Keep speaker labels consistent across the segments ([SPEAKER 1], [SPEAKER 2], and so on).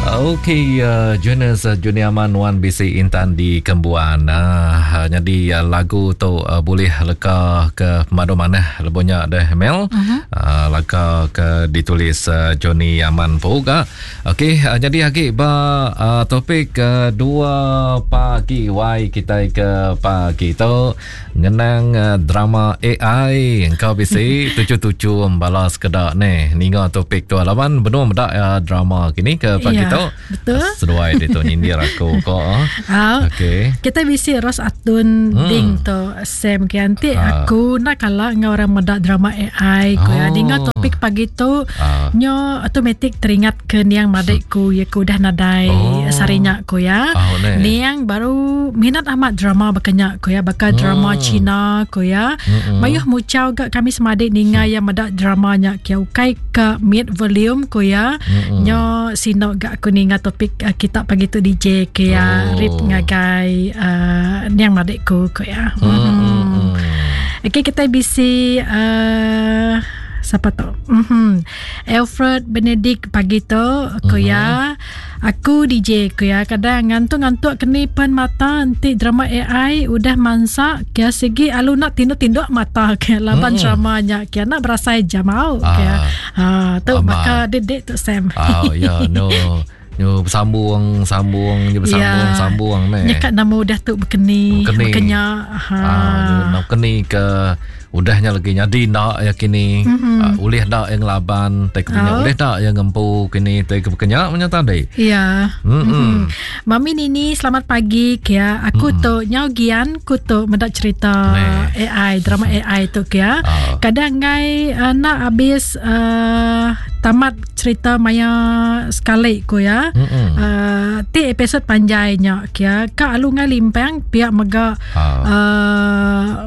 [SPEAKER 1] Okey, uh, Jonas uh, Junior Aman nuan bisi intan di Kembuan. Uh, jadi uh, lagu tu uh, boleh leka ke pemadu manah lebuhnya deh Mel. Uh-huh. Uh, leka ke ditulis uh, Johnny Aman pun Okey, uh, jadi agi ba uh, topik uh, dua pagi wai kita ke pagi tu ngenang uh, drama AI engkau bisi tuju-tuju bala sekeda ni ninga topik tu laban benung meda uh, drama kini ke pagi
[SPEAKER 2] ya,
[SPEAKER 1] tu.
[SPEAKER 2] Betul.
[SPEAKER 1] Seduai dia tu nyindir aku ko.
[SPEAKER 2] Uh,
[SPEAKER 1] Okey.
[SPEAKER 2] Kita bisi Ros Atun hmm. ding tu Sam ke anti uh. aku nak kala enggau orang meda drama AI ko ya. Ninga topik pagi tu uh. nyo automatic teringat ke niang madik ku ya ku udah nadai oh. sarinya ku ya.
[SPEAKER 1] Oh,
[SPEAKER 2] niang baru minat amat drama bakanya ku ya baka drama hmm. Cina ku ya. Hmm. Mayuh muchau ga kami semadik ninga hmm. ya meda drama nya kia ukai ka mid volume ku ya. Hmm. Nyo sino ga aku ninga topik uh, kita pagi tu DJ ke ya oh. rip ngagai uh, niang madik ku ku ya. Hmm. Hmm. Okey kita bisi uh, siapa tu? Mm-hmm. Alfred Benedict pagi tu ku mm-hmm. ya. Aku DJ ku ya. Kadang ngantuk-ngantuk keni pen mata enti drama AI udah mansa kia sigi alu nak tinduk-tinduk mata ke laban mm. drama nya kia nak berasai jam au ah. kia. Ha tu baka dedek tu Sam.
[SPEAKER 1] Ah ya no. Nyu bersambung sambung nyu bersambung
[SPEAKER 2] ya.
[SPEAKER 1] sambung ne.
[SPEAKER 2] Nyekat nama udah tu bekeni,
[SPEAKER 1] bekeni.
[SPEAKER 2] bekenya. Ha.
[SPEAKER 1] Ah, nyu bekeni ke udahnya lagi nyadi ndak ya kini. Mm-hmm. Uh, ulih ndak yang laban tai kenya oh. ulih ndak yang ngempu kini tai kenya punya tadi.
[SPEAKER 2] Ya.
[SPEAKER 1] Mm-hmm.
[SPEAKER 2] Mm-hmm. Mami Nini selamat pagi kia. Aku mm-hmm. tu nyau gian ku tu mendak cerita
[SPEAKER 1] Neh.
[SPEAKER 2] AI drama AI tu kia.
[SPEAKER 1] Oh.
[SPEAKER 2] Kadang ngai uh, nak habis uh, tamat cerita maya sekali ku ya.
[SPEAKER 1] Mm-hmm.
[SPEAKER 2] Uh, ti episod panjainya kia. Ka alu ngai limpang pihak mega
[SPEAKER 1] oh.
[SPEAKER 2] uh,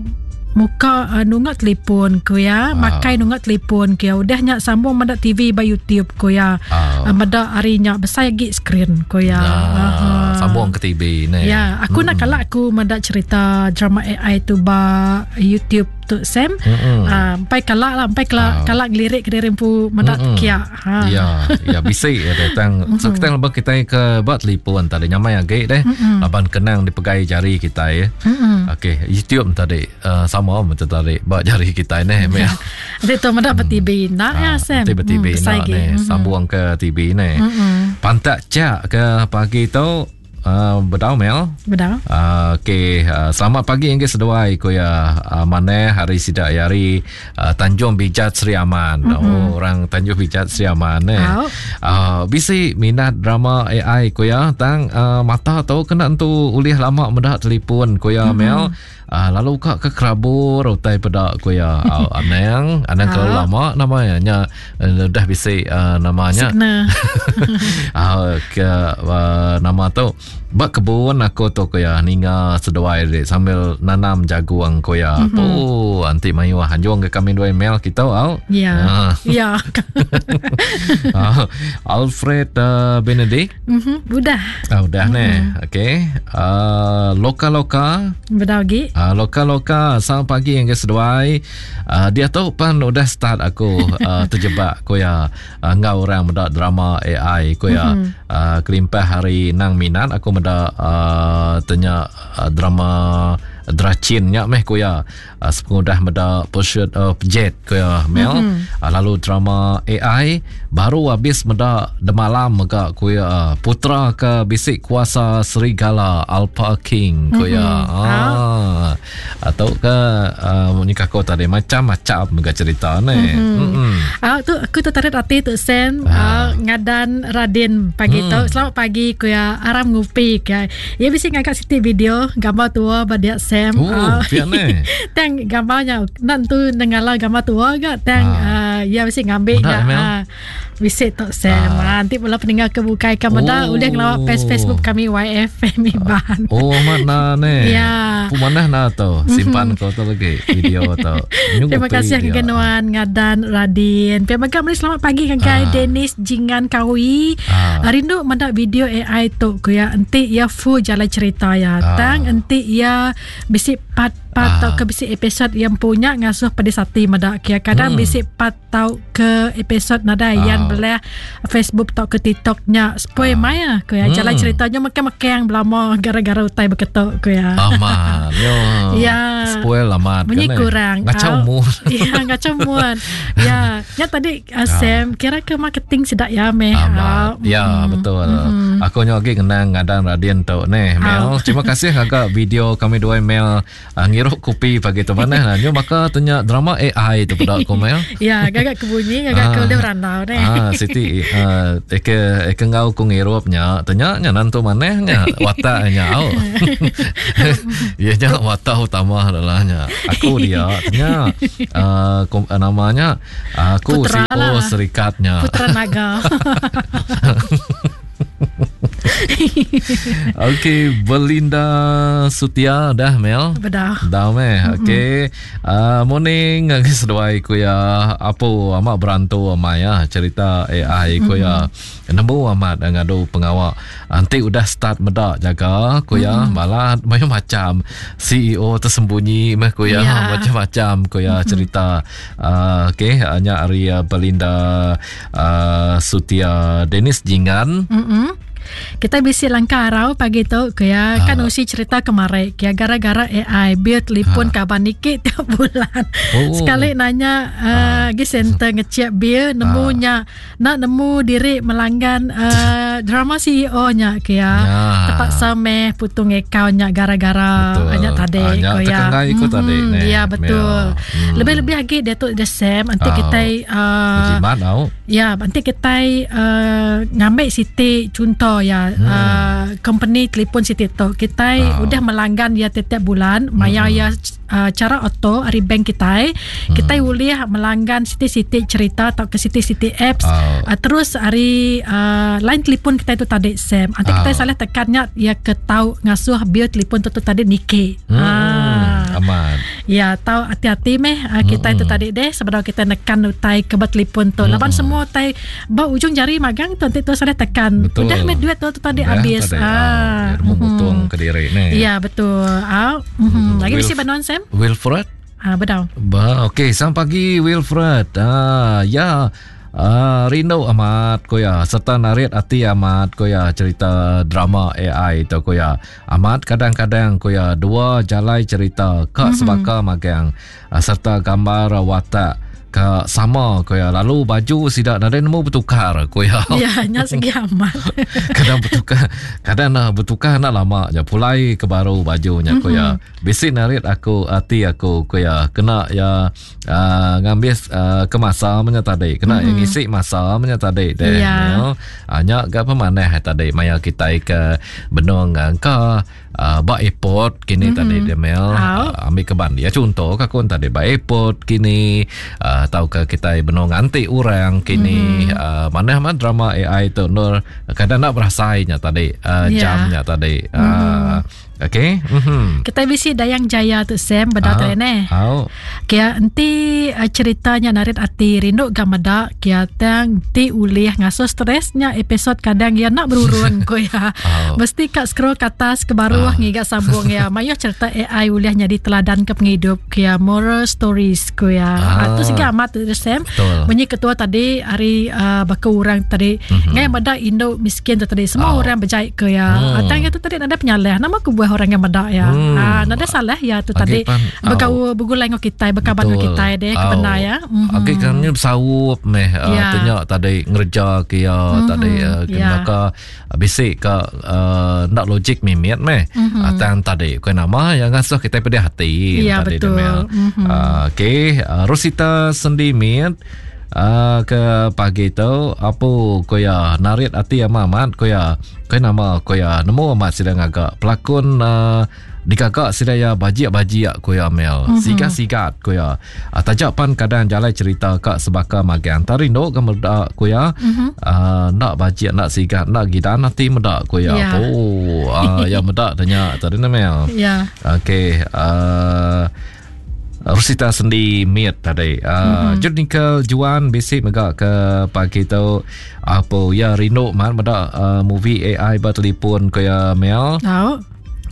[SPEAKER 2] muka uh, nunga telefon ku ya,
[SPEAKER 1] Ah.
[SPEAKER 2] makai nunga telefon ku ya. Udah nya sambung meda TV ba YouTube ku ya.
[SPEAKER 1] Ah.
[SPEAKER 2] Uh, meda hari nya besai lagi screen ku ya.
[SPEAKER 1] Ah,
[SPEAKER 2] Aha.
[SPEAKER 1] sambung ke TV ni.
[SPEAKER 2] Ya, aku nak kalak aku meda cerita drama AI tu ba YouTube tu Sam.
[SPEAKER 1] Mm-mm.
[SPEAKER 2] Ah, empai kalak lah, empai kalak,
[SPEAKER 1] Ah.
[SPEAKER 2] kalak ngelirik ke diri empu meda
[SPEAKER 1] Mm-mm.
[SPEAKER 2] kia. Ha.
[SPEAKER 1] Ya, ya bisi ya datang. So kita lebih kita ke buat telefon tadi nyamai agi deh. Laban kenang dipegai jari kita ya. Okey, YouTube tadi uh, sama macam tadi buat jari kita ni. Mel.
[SPEAKER 2] Nanti tu meda ba TV nak ya Sam.
[SPEAKER 1] Nanti ber-TV
[SPEAKER 2] Hmm, besai
[SPEAKER 1] nak
[SPEAKER 2] lagi.
[SPEAKER 1] ni sambung ke TV ni. Pantak cak ke pagi tu uh, bedau Mel.
[SPEAKER 2] Bedau.
[SPEAKER 1] Uh, Okey, uh, selamat pagi yang seduai ku ya uh, mana hari sidak hari uh, Tanjung Bijat Sri Aman. Mm-hmm. Oh, orang Tanjung Bijat Sri Aman eh.
[SPEAKER 2] Au.
[SPEAKER 1] Uh, bisi minat drama AI ku ya tang uh, mata tu kena entu ulih lama mendak telefon ku ya mm-hmm. Mel. Uh, lalu kak ke kerabur utai peda ku ya. Uh, anang, anang kalau lama namanya nya uh, dah bisi uh, namanya.
[SPEAKER 2] Sekna.
[SPEAKER 1] Ah, ke uh, nama tu bak kebun aku tu ko ya ninga seduai dek sambil nanam jagung ko ya. Mm-hmm. Oh, anti mayu anjung ke kami dua email kita au.
[SPEAKER 2] Ya.
[SPEAKER 1] Ah.
[SPEAKER 2] Ya.
[SPEAKER 1] Ah, Alfred uh, Benedict.
[SPEAKER 2] Mhm, udah.
[SPEAKER 1] Ah, udah mm-hmm. ni. Okey. Uh, loka-loka
[SPEAKER 2] Bedau lagi.
[SPEAKER 1] Uh, loka-loka Selamat pagi yang ke seduai uh, Dia tu pan udah start aku uh, Terjebak ko ya uh, Ngau orang mendak drama AI ko ya mm-hmm. uh, Kelimpah hari nang minat Aku mendak uh, Tanya uh, drama Dracin nya meh ko ya uh, Sepengudah mendak Pursuit of Jet ko ya Mel mm-hmm. uh, Lalu drama AI Baru habis mendak Demalam mega ko ya Putra ke bisik kuasa serigala Alpha King ko ya mm-hmm. ah. Atau ke uh, nikah kau tadi macam-macam mega cerita ni. Mm-hmm. Mm-hmm.
[SPEAKER 2] Ah tu aku tertarik hati tu Sam ah. ngadan Radin pagi mm. tu. Selamat pagi ku ya aram ngupi ke. Ya bisi ngangkat siti video gambar tua ba dia Sam.
[SPEAKER 1] Oh,
[SPEAKER 2] Ah,
[SPEAKER 1] piak ni.
[SPEAKER 2] Tang gambarnya nan tu nengala gambar tua ga tang ah. uh, ya bisi ngambil
[SPEAKER 1] Menak,
[SPEAKER 2] nya.
[SPEAKER 1] Mel.
[SPEAKER 2] Ah, bisi tu Sam. Ah. nanti pula peninggal ke bukai ke meda
[SPEAKER 1] Oh.
[SPEAKER 2] udah ngelawak page Facebook kami YFM Iban.
[SPEAKER 1] Oh mana ni?
[SPEAKER 2] Ya.
[SPEAKER 1] Pu mana na tu? Simpan kau tu lagi video tu. Nyu
[SPEAKER 2] Terima
[SPEAKER 1] ngopi
[SPEAKER 2] kasih
[SPEAKER 1] dia.
[SPEAKER 2] ke Nuan Ngadan Radin. Pihak mega meri selamat pagi kan kai
[SPEAKER 1] Ah.
[SPEAKER 2] Dennis Jingan Kawi.
[SPEAKER 1] Ah.
[SPEAKER 2] Rindu mendak video AI tu ku ya enti ya full jalan cerita ya.
[SPEAKER 1] Ah.
[SPEAKER 2] Tang enti ya bisi part part tau ke bisi episode yang punya ngasuh pedis hati meda kia. Kadang bisi part tau ke episode nadai yang belah Facebook tau ke TikTok nya spoil maya ko ya. Jalan ceritanya mekang-mekang belama gara-gara utai beketok ko ya.
[SPEAKER 1] Amat. Yo.
[SPEAKER 2] Ya.
[SPEAKER 1] Spoil amat.
[SPEAKER 2] Bunyi
[SPEAKER 1] kan, eh.
[SPEAKER 2] kurang.
[SPEAKER 1] Ngacau
[SPEAKER 2] Ah.
[SPEAKER 1] mood.
[SPEAKER 2] Ya, ngacau mood. Ya, ya tadi Sam kira ke marketing sedak ya meh.
[SPEAKER 1] Amat. Ya, betul. Aku nyo lagi ngenang ngadang Radin tu neh, Mel. Terima kasih agak video kami dua Mel ngirup kopi pagi tu mana lah. Nyo maka tanya drama AI tu pada aku Mel.
[SPEAKER 2] Ya, gagak kebunyi, gagak ke udah berandau neh.
[SPEAKER 1] Ah, Siti eke eke ngau ku ngirupnya, tanya nya nantu manehnya wataknya au. Ya nya watak utama adalah nya. Aku dia tanya namanya aku
[SPEAKER 2] Putra
[SPEAKER 1] CEO
[SPEAKER 2] lah.
[SPEAKER 1] serikatnya.
[SPEAKER 2] Putra Naga.
[SPEAKER 1] Okey, Belinda Sutia dah Mel.
[SPEAKER 2] Bedah.
[SPEAKER 1] Dah meh. Okey. Morning ngagai seduai ku ya. Apo amat berantu amai ya cerita AI ku ya. Nemu amat ngadu pengawak. Nanti udah start medak jaga ku ya. Malah macam-macam CEO tersembunyi meh ku ya. Macam-macam ku ya cerita. Okey, hanya hari Belinda Sutia Dennis Jingan.
[SPEAKER 2] Kita bisi langkah arau pagi tu ke ya kan usi cerita kemarin ke ya, gara-gara AI bil telefon kaban nikit tiap bulan. Sekali nanya gi center ngecek bil nemunya nak nemu diri melanggan drama CEO nya ke ya. Terpaksa meh putung account nya gara-gara nya tadi
[SPEAKER 1] ke
[SPEAKER 2] ya.
[SPEAKER 1] Terkengai ikut tadi ne.
[SPEAKER 2] Ya betul. Lebih-lebih lagi dia tu dia Sam nanti kita
[SPEAKER 1] jimat tau.
[SPEAKER 2] Ya, nanti kita ngambil siti contoh ya company telefon siti tu kita udah melanggan ya tiap-tiap bulan maya ya cara auto dari bank kita kita boleh melanggan siti-siti cerita atau ke siti-siti apps terus hari line telefon kita itu tadi Sam nanti kita salah tekannya ya ke tahu ngasuh bil telefon tu tadi nike.
[SPEAKER 1] Aman.
[SPEAKER 2] Ya, tahu hati-hati meh kita itu tadi deh sebab kita nekan utai ke telefon tu. Laban semua utai ba ujung jari magang tu nanti tu salah tekan.
[SPEAKER 1] Betul.
[SPEAKER 2] Udah meh duit tu tadi habis.
[SPEAKER 1] Tadi, memotong ke diri ni.
[SPEAKER 2] Ya, betul. Lagi mesti banon Sam?
[SPEAKER 1] Wilfred?
[SPEAKER 2] Betul.
[SPEAKER 1] Okey, selamat pagi Wilfred. Ya. Rindu amat ko ya serta narit hati amat ko ya cerita drama AI tu ko ya. Amat kadang-kadang ko ya dua jalai cerita kak sebaka magang serta gambar watak ke sama ko ya lalu baju sidak nadai nemu bertukar ko ya.
[SPEAKER 2] Ya nya segi amat.
[SPEAKER 1] Kadang bertukar, kadang nak bertukar nak lama je pulai ke baru bajunya ko ya. Bisi narit aku hati aku ko ya kena ya ngambil ke masa menya tadi kena yang ngisi masa menya tadi deh.
[SPEAKER 2] Ya.
[SPEAKER 1] Nya gak pemanah tadi maya kita ke benung ke ba airport kini tadi dia Mel ambil ke ban dia contoh ke aku tadi ba airport kini atau ke kita benung nganti orang kini mana mana drama AI tu nur kadang nak berasainya tadi jamnya tadi okey.
[SPEAKER 2] Kita bisi Dayang Jaya tu Sam bedah tu ne. Kia enti ceritanya narit ati rindu gamada kia tang ti ulih ngaso stresnya episod kadang ya nak berurun ko ya. Mesti kat scroll ke atas ke baruh ngiga sambung ya. Mayo cerita AI ulih jadi teladan ke penghidup kia moral stories ko ya. Tu segi amat tu Sam. Bunyi ketua tadi hari baka orang tadi ngai meda induk miskin tu tadi semua orang berjaya ke ya. Atang tu tadi ada penyalah nama ku buah orang yang medak ya. Nada salah ya tu tadi berkau bergulai dengan kita berkaban dengan kita deh kebenar ya.
[SPEAKER 1] Okey kan ni bersawup meh tanya tadi ngerja ke ya tadi maka bisik ke ndak logik mimit meh. Tang tadi bukan nama yang ngasuh kita pedih hati
[SPEAKER 2] ya,
[SPEAKER 1] tadi
[SPEAKER 2] betul.
[SPEAKER 1] Okey Rosita Sendimit ke pagi tu apa ko ya narit hati amat ko ya ko nama ko ya nemu amat sedang agak pelakon dikagak sedaya bajik-bajik ko ya Mel sigat-sigat ko ya tajak pan kadang jalan cerita kak sebaka magang tarindo ke medak ko ya nak bajik nak sigat nak gidan hati medak ko ya oh ya medak tanya tadi Mel
[SPEAKER 2] ya
[SPEAKER 1] okey Rosita Sendi Miet tadi. Junickel Juan bisik megak ke pagi tu apa ya rindu man medak movie AI bertelefon ke ya Mel.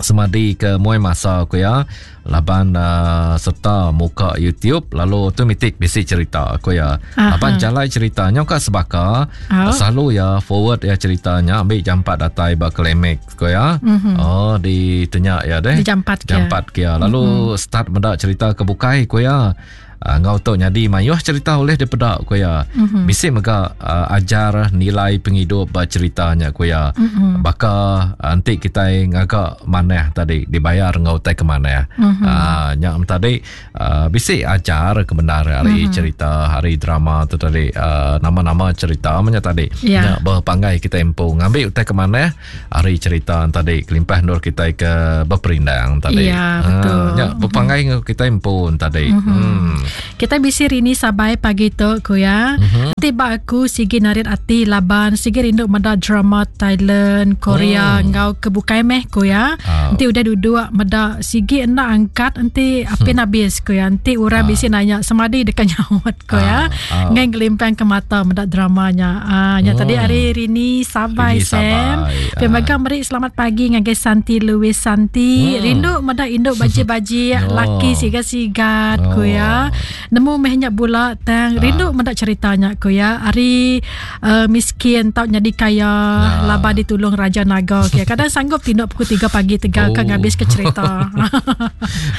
[SPEAKER 1] Semadi ke muai masa ku iya laban uh, serta muka YouTube lalu automatic bisi cerita ku iya. Laban jalai cerita nya ka sebaka oh. selalu iya forward iya cerita nya ambi jampat datai ba climax ku iya. Mm-hmm. Oh ditanya iya deh.
[SPEAKER 2] Jampat
[SPEAKER 1] ke. Jampat ke Lalu mm-hmm. start meda cerita ke bukai ku iya. Uh, enggau tu nyadi mayuh cerita ulih dipeda ku iya. Mm-hmm. Bisi mega uh, ajar nilai pengidup ba cerita nya ku iya. Mm-hmm. Baka uh, enti kitai ngaga manah tadi dibayar enggau utai ke manah. Mm-hmm. Uh, nya tadi uh, bisi ajar ke bendar ari mm-hmm. cerita hari drama tu tadi uh, nama-nama cerita nya tadi. Yeah. Nya bepanggai kitai empu ngambi utai ke manah ari cerita tadi kelimpah endur kitai ke beperindang tadi.
[SPEAKER 2] Ya, betul.
[SPEAKER 1] Ha, nya bepanggai enggau kitai empu tadi. Mm-hmm.
[SPEAKER 2] Hmm. Kita bisi rini sabai pagi tu ku ya. Mm-hmm. Ti ba aku sigi narit ati laban sigi rindu meda drama Thailand, Korea mm. enggau ke bukai meh ku ya. Oh. Enti udah duduk meda sigi enda angkat enti apin hmm. habis ku ya. Enti orang uh. bisi nanya semadi deka nyaut ku ya. Uh. Ngai ngelimpang ke mata meda drama nya. Ah nya hmm. tadi hari Rini Sabai Sam. Pia ah. mega meri selamat pagi ngagai Santi Louis Santi. Hmm. Rindu meda indu baji-baji oh. laki sigat-sigat oh. ku ya. Nemu meh nya bula tang ah. rindu meda cerita nya ku ya. Ari uh, miskin tau nyadi kaya ah. laban ditulung Raja Naga okay. Kadang sanggup tinduk pukul 3 pagi tegal oh. ka ngabis ke cerita.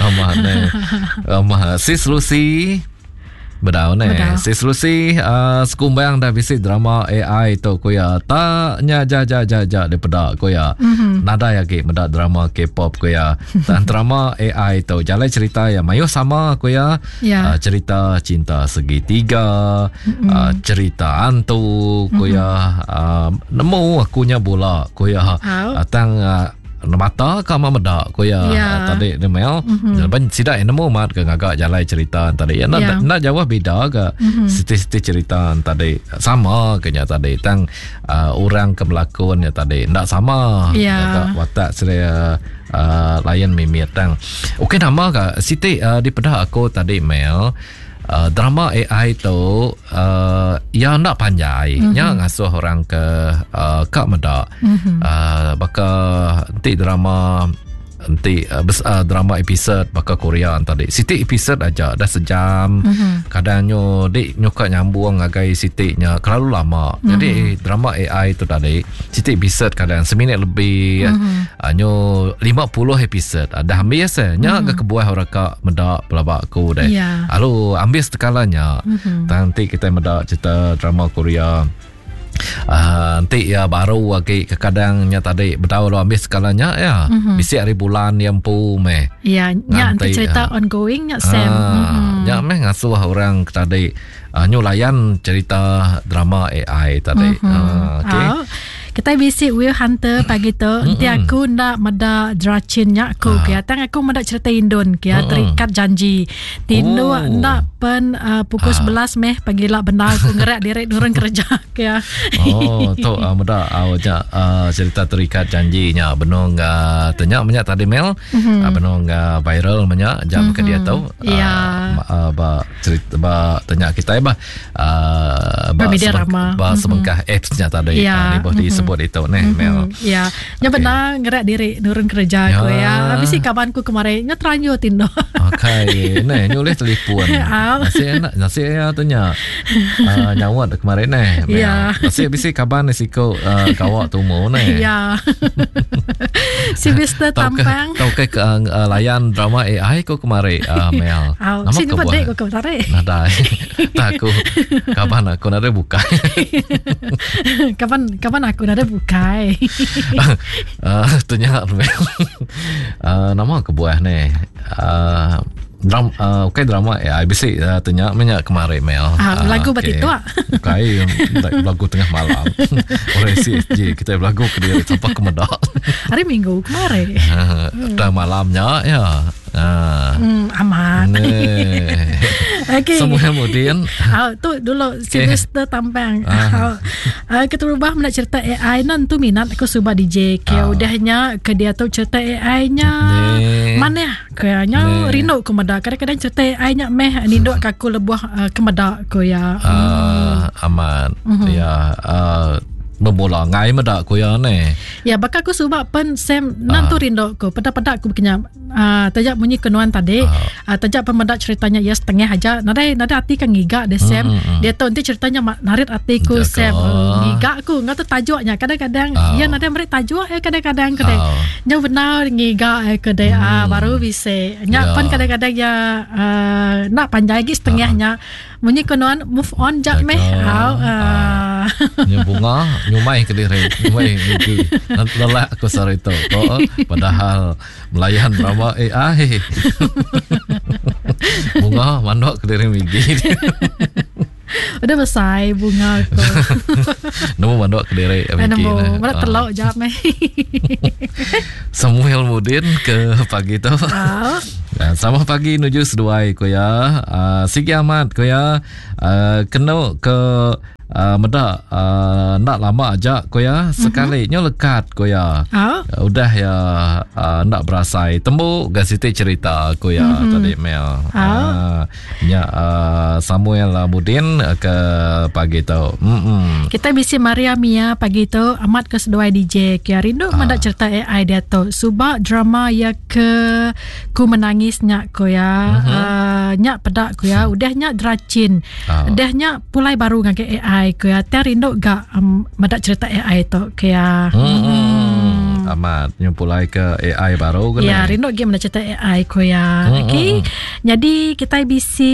[SPEAKER 1] Amat ne. Amat sis Lucy. Bedau ne. Sis Lucy uh, sekumbang dah bisi drama AI tu ku ya. Tak nya ja ja ja ja dipeda ku ya. Mm-hmm. Nadai agi meda drama K-pop ku ya. Tang drama AI tu jalai cerita ya mayuh sama ku ya. Yeah. Uh, cerita cinta segitiga, mm-hmm. uh, cerita hantu ku mm-hmm. ya. Uh, nemu aku nya bula ku ya. Uh, tang uh, mata ka ma meda ku iya yeah. tadi ni Mel mm-hmm. Laban sida yang nemu mat ke ngaga jalai cerita tadi ya yeah. nak jauh beda ke mm-hmm. siti-siti cerita tadi sama ke nya tadi tang uh, orang ke melakon nya tadi ndak sama
[SPEAKER 2] yeah.
[SPEAKER 1] ngaga watak seria uh, lain mimit tang okey nama ka siti uh, dipeda aku tadi Mel Uh, drama AI tu uh, ya enda panjai mm-hmm. nya ngasuh orang ke uh, ka meda mm-hmm. uh, baka enti drama enti uh, bes, uh, drama episode baka Korea tadi siti episode aja dah sejam mm-hmm. kadang nyo dik nyo ka nyambung ngagai siti nya kelalu lama mm-hmm. jadi drama AI tu tadi siti episode kadang seminit lebih mm-hmm. uh, nyo 50 episode uh, dah habis eh. nya mm-hmm. ke kebuah orang ka meda pelaba aku deh.
[SPEAKER 2] Yeah.
[SPEAKER 1] Lalu ambis tekala nya. Mm-hmm. Tang enti kita meda cerita drama Korea Uh, enti ya baru agi kekadang nya tadi bedau lu ambis sekala nya ya. Mm-hmm. Bisi hari bulan ya empu meh.
[SPEAKER 2] Ya, nya enti cerita uh, ongoing nya Sam.
[SPEAKER 1] Uh, mm-hmm. Nya meh ngasuh orang tadi uh, nyu layan cerita drama AI tadi.
[SPEAKER 2] Mm-hmm.
[SPEAKER 1] Uh,
[SPEAKER 2] okay. Uh. Kita bisi Will Hunter pagi tu. Enti aku nda meda dracin nya aku ah. kia. Tang aku meda cerita Indon kia terikat janji. Tinduk oh. nda pen uh, pukul ah. 11 meh pagi la bendar aku ngerak diri nurun kerja kia.
[SPEAKER 1] Oh tu uh, meda uh, nya uh, cerita terikat janji nya benung uh, tanya menya tadi Mel mm-hmm. uh, benung uh, viral menya jam mm-hmm. ke dia tu.
[SPEAKER 2] Uh, ya.
[SPEAKER 1] Uh, ba cerita ba tanya kita bah
[SPEAKER 2] uh, ba, media rama
[SPEAKER 1] ba mm-hmm. sebengkah apps nya tadi
[SPEAKER 2] ya.
[SPEAKER 1] uh, ni boleh mm-hmm. disebut itu neh
[SPEAKER 2] mm-hmm.
[SPEAKER 1] Mel
[SPEAKER 2] ya nya okay. benar ngerak diri nurun kerja ya. ku ya habis si kawan ku kemarin nya teranyu tindo
[SPEAKER 1] okey neh nyulih telefon nasi enak nasi ya tanya uh, nyawa kemarin neh Mel
[SPEAKER 2] ya.
[SPEAKER 1] nasi bisi kaban ni siku uh, kawak tumu neh
[SPEAKER 2] ya si Mister Tampang
[SPEAKER 1] tau ke uh, layan drama AI ku kemarin uh, Mel
[SPEAKER 2] nama ke buah ku kemarin
[SPEAKER 1] nadai Tak aku kaban aku nadai bukai.
[SPEAKER 2] kaban kaban aku nadai bukai.
[SPEAKER 1] uh, tanya uh, nama kebuah ni. Uh, dram uh, okay drama AI bisi uh, tanya menya kemarin Mel.
[SPEAKER 2] Ah, lagu uh, okay. itu ah.
[SPEAKER 1] Bukai lagu tengah malam. Orang CSJ kita belagu ke dia sampai ke medak.
[SPEAKER 2] Hari Minggu kemarin.
[SPEAKER 1] Uh, tengah malamnya ya.
[SPEAKER 2] Ah. Hmm, amat.
[SPEAKER 1] Okey. Semua kemudian.
[SPEAKER 2] Ah, tu dulu okay. Sylvester Tampang. Ah. Uh, keterubah nak cerita AI nan tu minat aku suba DJ. Ke ah. udahnya ke dia tu cerita AI nya. Mana kayaknya rindu ku meda. Kadang-kadang cerita AI nya meh ninduk ke aku lebuh uh, ke meda ku ya.
[SPEAKER 1] Ah, hmm. amat. Mm-hmm. Ya. Uh, Bemula ngai meda ku iya neh.
[SPEAKER 2] Ya baka aku suba pen Sam nan tu rindu ku peda-peda aku bekenya uh, taja munyi ke nuan tadi uh. Uh, taja pen meda ceritanya ya setengah aja nadai nadai ati kan ngiga deh Sam. Mm, mm. Dia tu enti ceritanya narit ati ku Sam uh, ngiga ku ngau tu tajuknya kadang-kadang uh. ya nadai meri tajuk eh kadang-kadang ke deh. Uh. Nya benar ngiga eh ke deh mm. uh, baru bisi. Nya yeah. pen kadang-kadang ya uh, nak panjai lagi setengahnya. Uh. Munyi ko nuan move on jak meh. Au.
[SPEAKER 1] Uh. Nya bunga nyumai ke diri, nyumai mimpi. Lelak aku sehari tu. Oh, padahal melayan drama AI. bunga mandok ke diri migi.
[SPEAKER 2] Udah besai bunga aku.
[SPEAKER 1] Nemu mandok ke diri
[SPEAKER 2] migi. Nemu, mana telok jap meh.
[SPEAKER 1] Samuel Mudin ke pagi tu. Uh. Sama pagi nuju seduai ku ya. Uh, sigi amat ku ya. Uh, kena ke uh, meda uh, ndak lama aja ku ya. Sekali mm-hmm. nyo lekat ku ya. Uh. Udah ya uh, ndak berasai. Tembu ga siti cerita ku ya mm-hmm. tadi Mel. Uh. Uh, Nya uh, Samuel Mudin ke pagi tu.
[SPEAKER 2] Mm-mm. Kita bisi Maria Mia pagi tu amat ke seduai DJ ke rindu ah. mendak cerita AI dia tu. Suba drama ya ke ku menangis nya ko ya. Mm-hmm. Uh, nya peda ko ya. Udah nya dracin. Ah. Udah nya pulai baru ngagai AI ko ya. Tiang rindu ga um, mendak cerita AI tu ke ya.
[SPEAKER 1] Mm-hmm. Amat nyumpulai ke AI baru
[SPEAKER 2] ke Ya, rindu gi mendak cerita AI ko ya. Mm-hmm. Okey. Nyadi kitai bisi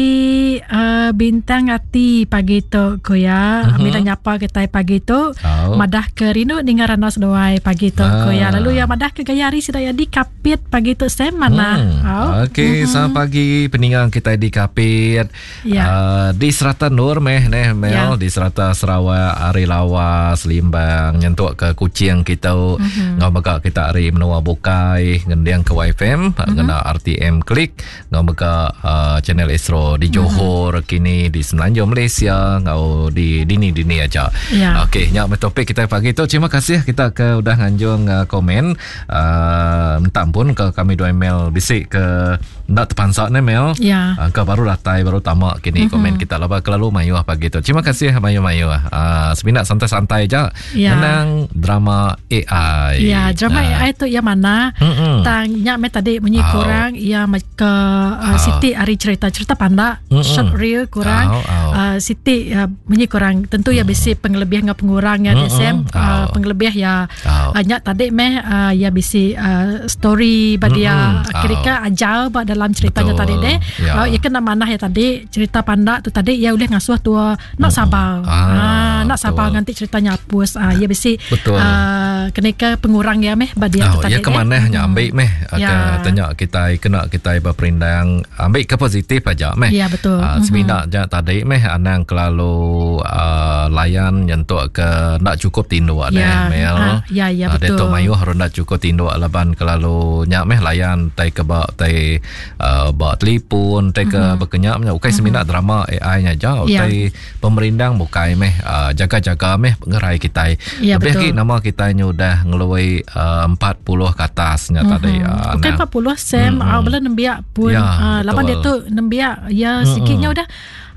[SPEAKER 2] uh, bintang ati pagi tu ko ya. Mm-hmm. Ambi nyapa kitai pagi tu. Oh. Madah ke rindu ninga randau seduai pagi tu ah. ko ya. Lalu ya madah ke gaya hari sida ya di Kapit pagi tu Sam mana.
[SPEAKER 1] Mm. Oh. Okey, mm-hmm. selamat pagi peninggang kitai di Kapit. Ya. Uh, di serata Nur meh neh Mel ya. di serata Sarawak, ari Lawas, Limbang nyentuk ke Kuching kita. Mm-hmm. Ngau mega kita ari menua bukai ngending ke YFM mm-hmm. ngena RTM Klik ngau mega uh, channel Astro di mhm. Johor mm-hmm. kini di Semenanjung Malaysia ngau di dini-dini aja. Ya. Okey, nya meh topik kita pagi tu. Terima kasih kita ke udah nganjung uh, komen. Uh, minta ampun ke kami dua email bisi ke enda terpansa ne Mel.
[SPEAKER 2] Ya.
[SPEAKER 1] Uh, ke baru datai baru tama kini mm-hmm. komen kita laba kelalu mayuh pagi tu. Terima kasih mayuh-mayuh. Uh, semina santai-santai aja.
[SPEAKER 2] Ya.
[SPEAKER 1] Ngenang drama AI.
[SPEAKER 2] Ya, drama uh. AI tu yang mana? Mm-hmm. Tang nya me tadi munyi oh. kurang ya ke uh, oh. Siti ari cerita-cerita pandak mm-hmm. short reel kurang. Oh. Oh. Uh, Siti uh, munyi kurang tentu ya mm. bisi pengelebih enggau pengurang ya mm-hmm. SM uh, pengelebih ya oh. uh, nya tadi meh uh, ya bisi uh, story ba dia mm-hmm. kira-kira oh. ajar ba dalam ceritanya tadi deh. Ya. Uh, ya kena manah ya tadi cerita pandak tu tadi ya ulih ngasuh tua nak sabar. Ah, ah nak sabar nganti ceritanya hapus. Ah, ya bisi.
[SPEAKER 1] Betul.
[SPEAKER 2] Ah, kena ke pengurang ya meh ba dia
[SPEAKER 1] oh, tu tadi. Ya ke manah nya ambil meh. Ya. Ke tanya kita kena kita berperindang ambil ke positif aja meh.
[SPEAKER 2] Ya betul.
[SPEAKER 1] Ah, semina mm-hmm. ja tadi meh anang kelalu uh, layan nyentuk ke nak cukup tinduk
[SPEAKER 2] ya. deh
[SPEAKER 1] mel.
[SPEAKER 2] Ah, ya ya betul.
[SPEAKER 1] Dia tu mayuh rendah cukup tinduk laban kelalu nya meh layan tai ke ba tai uh, ba telefon tai ke mm-hmm. bekenyak nya ukai mm-hmm. semina drama AI nya aja utai yeah. pemerindang bukai meh uh, jaga-jaga meh pengerai kitai
[SPEAKER 2] yeah,
[SPEAKER 1] lebih lagi nama kitai nya udah ngeluai uh, 40 ke atas nya mm-hmm. tadi
[SPEAKER 2] uh, ukai 40 sem mm-hmm. uh, bala nembiak pun yeah, uh, laban dia tu nembiak ya mm-hmm. sikitnya udah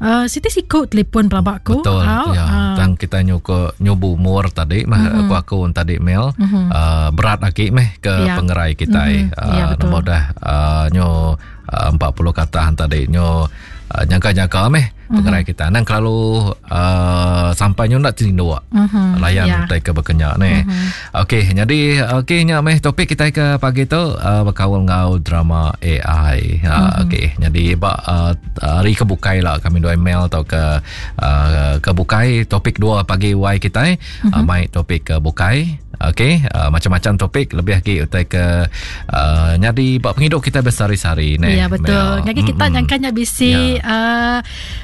[SPEAKER 2] Uh, siti siku telefon pelaba aku.
[SPEAKER 1] Betul.
[SPEAKER 2] Au,
[SPEAKER 1] ya.
[SPEAKER 2] Uh.
[SPEAKER 1] Tang kita nyuko nyubu umur tadi mah mm-hmm. aku aku tadi mail mm-hmm. uh, berat lagi meh ke
[SPEAKER 2] ya.
[SPEAKER 1] pengerai kita.
[SPEAKER 2] Mm-hmm.
[SPEAKER 1] Uh,
[SPEAKER 2] ya, betul.
[SPEAKER 1] Nombor dah uh, nyo uh, 40 kata tadi nyo uh, nyangka-nyangka meh mm-hmm. pengerai kita. Nang kelalu uh, sampai nyo nak tindu.
[SPEAKER 2] Mm-hmm.
[SPEAKER 1] Layan
[SPEAKER 2] ya.
[SPEAKER 1] utai ke bekenya ni.
[SPEAKER 2] Mm-hmm.
[SPEAKER 1] Okey, jadi okey nya meh topik kita ke pagi tu uh, berkaul ngau drama AI. Uh, mm-hmm. Okey, jadi ba uh, hari ke bukai lah kami dua email atau ke uh, ke bukai topik dua pagi Y kita mm-hmm. uh, mai topik ke bukai. Okey, uh, macam-macam topik lebih lagi utai ke uh, nyadi ba penghidup kita bersehari-hari
[SPEAKER 2] ni. Ya betul. Ngagi kita mm-hmm. nyangkanya bisi ya. uh,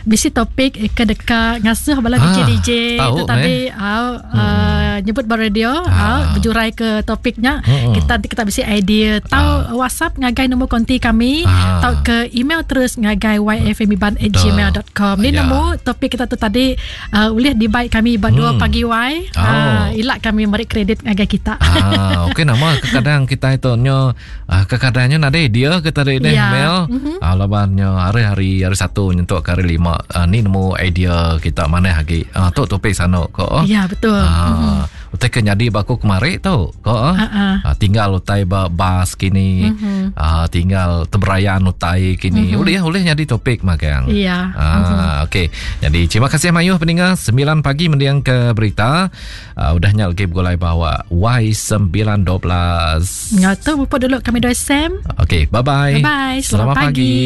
[SPEAKER 2] bisi topik ke deka ngasuh bala DJ DJ
[SPEAKER 1] tu
[SPEAKER 2] tadi uh, uh, nyebut ba radio ah. uh, berjurai ke topiknya
[SPEAKER 1] Hmm.
[SPEAKER 2] kita nanti kita bisi idea tau
[SPEAKER 1] Ah.
[SPEAKER 2] WhatsApp ngagai nombor konti kami
[SPEAKER 1] Ah.
[SPEAKER 2] tau ke email terus ngagai yfmiban@gmail.com ni
[SPEAKER 1] Ya.
[SPEAKER 2] nemu topik kita tu tadi uh, ulih dibaik kami ba 2 pagi y
[SPEAKER 1] Oh.
[SPEAKER 2] uh, ilak kami meri kredit ngagai kita.
[SPEAKER 1] Ah, okey nama kekadang kita itu nyo ah, kekadangnya nadai idea ke tadi deh
[SPEAKER 2] Ya.
[SPEAKER 1] Mel. Ah, laban nyo hari-hari hari satu nyentuk ke hari lima ah, ni nemu idea kita manah agi. Ah, tu topik sano ko.
[SPEAKER 2] Ya, betul.
[SPEAKER 1] Ah, utai ke nyadi ba aku kemari tu ko.
[SPEAKER 2] Ah, ah.
[SPEAKER 1] Ah, tinggal utai ba bas kini. Ah, tinggal teberayan utai kini. Ulih ulih nyadi topik magang.
[SPEAKER 2] Ya.
[SPEAKER 1] Ah, okey. Jadi terima kasih mayuh pendengar 9 pagi mendiang ke berita. Uh, udah nya lagi bergulai bawa Y912.
[SPEAKER 2] Ngau tu bupuk dulu kami dua Sam.
[SPEAKER 1] Okey, bye-bye.
[SPEAKER 2] Bye-bye.
[SPEAKER 1] Selamat
[SPEAKER 2] Selamat
[SPEAKER 1] pagi.
[SPEAKER 2] pagi.